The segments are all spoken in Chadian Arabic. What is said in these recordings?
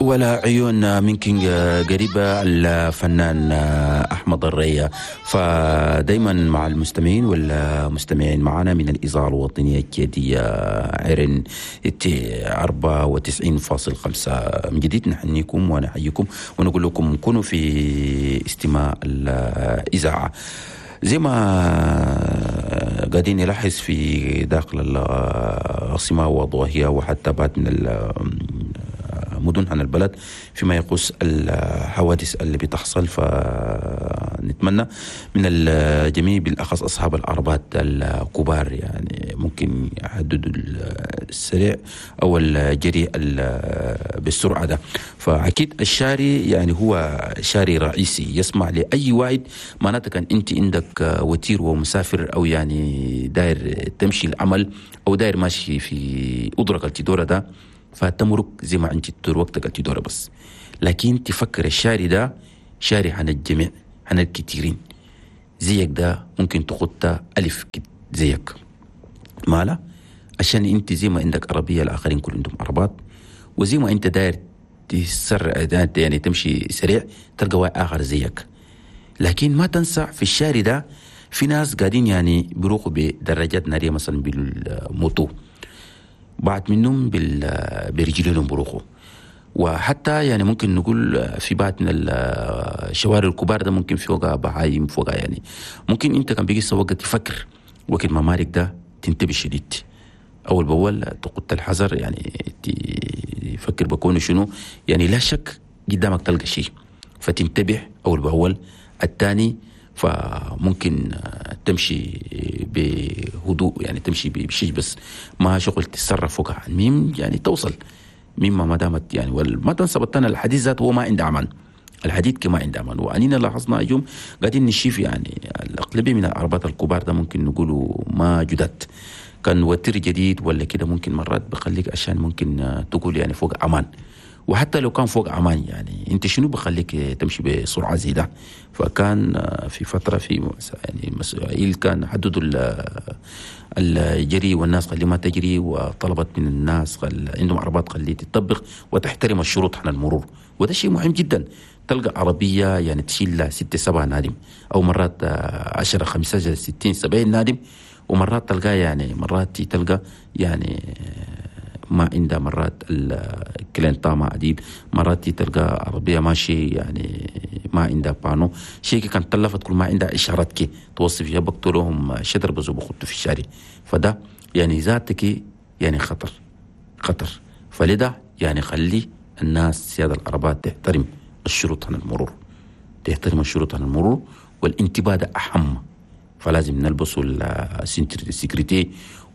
ولا عيون من كينج قريبة الفنان أحمد الريا. فدايما مع المستمعين والمستمعين معنا من الإذاعة الوطنية الكيدية عرن 94.5. من جديد نحنيكم ونحييكم ونقول لكم كونوا في استماع الإذاعة. زي ما قاعدين نلاحظ في داخل العاصمة وضواحيها وحتى بعد من مدن عن البلد فيما يخص الحوادث اللي بتحصل، فنتمنى من الجميع بالأخص أصحاب العربات الكبار يعني ممكن يحددوا السريع أو الجري بالسرعة ده. فأكيد الشاري يعني هو شاري رئيسي يسمع لأي واحد، معناته كان أنت عندك وتير ومسافر أو يعني داير تمشي العمل أو داير ماشي في أدرك التدورة ده، فتمرك زي ما انت تدور وقتك التدور بس. لكن تفكر الشاري ده شاري عن الجميع، عن الكثيرين زيك ده ممكن تخط ألف زيك مالا، عشان انت زي ما عندك عربية الآخرين كل عندهم عربات، وزي ما انت داير تسرع يعني تمشي سريع تلقى واحد آخر زيك. لكن ما تنسى في الشاري ده في ناس قاعدين يعني بيروحوا بدراجات نارية مثلا بالموتو، بعض منهم برجلهم بروحوا، وحتى يعني ممكن نقول في بعض من الشوارع الكبار ده ممكن فوقها بهايم فوقها، يعني ممكن انت كان بيجي سواق تفكر وقت ما مارك ده تنتبه شديد اول باول، تقط الحذر يعني تفكر بكونه شنو، يعني لا شك قدامك تلقى شيء فتنتبه اول باول. الثاني فممكن تمشي بهدوء يعني تمشي بشيء بس ما شغل تتصرف فوقها، المهم يعني توصل مما ما دامت يعني. وما تنسى بطلنا الحديث ذاته هو ما عنده امان، الحديد كما عنده امان. وانينا لاحظنا اليوم قاعدين نشوف يعني الاغلبية من العربات الكبار ده ممكن نقولوا ما جدد، كان وتر جديد ولا كده ممكن مرات بخليك عشان ممكن تقول يعني فوق امان، وحتى لو كان فوق امان يعني انت شنو بخليك تمشي بسرعة زي ده. فكان في فترة في يعني مسؤولين كان حددوا الجري والناس خلي ما تجري، وطلبت من الناس عندهم عربات خلي تطبق وتحترم الشروط عن المرور، وده شيء مهم جدا. تلقى عربية يعني تشيل 6 7 نادم او مرات 10 15 60 70 نادم، ومرات تلقى يعني مرات تلقى يعني ما عندها مرات الكلينتا ما عديد، مرات تلقى عربية ماشي يعني ما عندها بانو شيء كان تلفت كل ما عندها إشارات كي توصف فيها بقتلهم شدر بزو بخطوا في الشارع. فده يعني ذاتك يعني خطر خطر. فلذا يعني خلي الناس سيادة العربات تحترم الشروط عن المرور، تحترم الشروط عن المرور، والانتباه ده أهم. فلازم نلبسوا ال ceinture de sécurité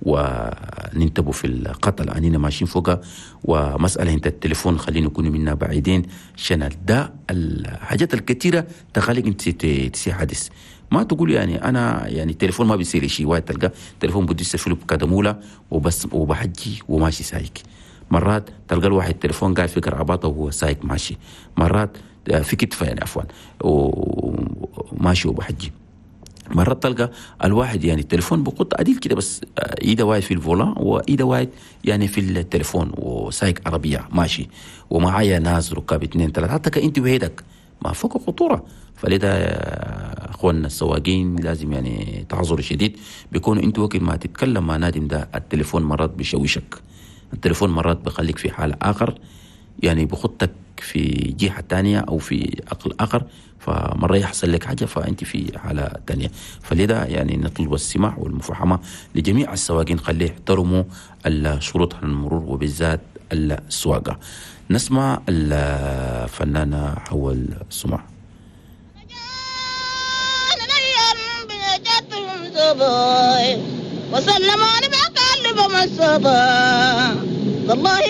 وننتبهوا في القتل اننا ماشيين فوقها، ومسألة انت التليفون خلينا نكون منا بعيدين عشان ده الحاجات الكثيرة تخليك انت تسي حادث. ما تقول يعني انا يعني التليفون ما بيصير شيء، واحد تلقى تليفون بدي في كدمولة وبس وبحجي وماشي سايق. مرات تلقى الواحد التليفون قاعد في قرعباطه وهو سايق ماشي، مرات في كتفه يعني عفوا وماشي وبحجي. مرات تلقى الواحد يعني التليفون بقط عديل كده بس ايده واحد في الفولا وايده واحد يعني في التليفون وسايق عربية ماشي ومعايا ناس ركاب 2 3 حتى كأنت وحيدك ما فوق خطورة. فلذا اخواننا السواقين لازم يعني تعذر شديد، بيكونوا انت وقت ما تتكلم مع نادم ده التليفون مرات بيشوشك، التليفون مرات بخليك في حالة آخر يعني بخطك في جهة تانية أو في عقل آخر، فمرة يحصل لك حاجة فأنت في حالة تانية. فلذا يعني نطلب السماح والمفاهمة لجميع السواقين، خليه يحترموا الشروط عن المرور وبالذات السواقة. نسمع الفنانة حول السماح. وسلم على والله.